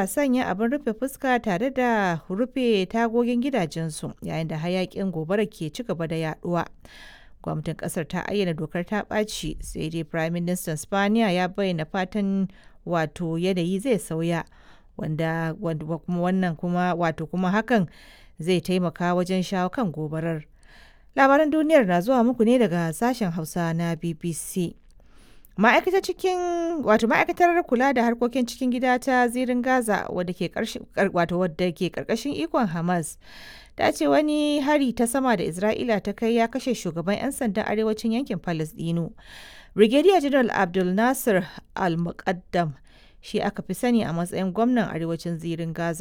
suka sanya abin rufe fuska tare da rufe tagogin gidajensu yayin da hayakin gobara ke ci gaba da yaduwa. Gwamnatin kasar ta ayyana dokar ta ɓaci, sai dai Prime Minister Spaniya ya bayyana fatan wato yanayi zai sauya, wanda kuma wannan kuma wato kuma hakan zai taimaka wajen shawo kan gobarar. Labaran duniyar na zuwa muku ne daga sashen Hausa na BBC. Ma'aikatar cikin wato ma'aikatar kula da harkokin cikin gida ta zirin Gaza, wadda ke wato wadda ke karkashin ikon Hamas, ta ce wani hari ta sama da Isra'ila ta kai ya kashe shugaban 'yan sandan arewacin yankin Palestino. Brigadier General Abdul Nasir Al-Muqaddam shi aka fi sani a matsayin gwamnan arewacin zirin Gaza.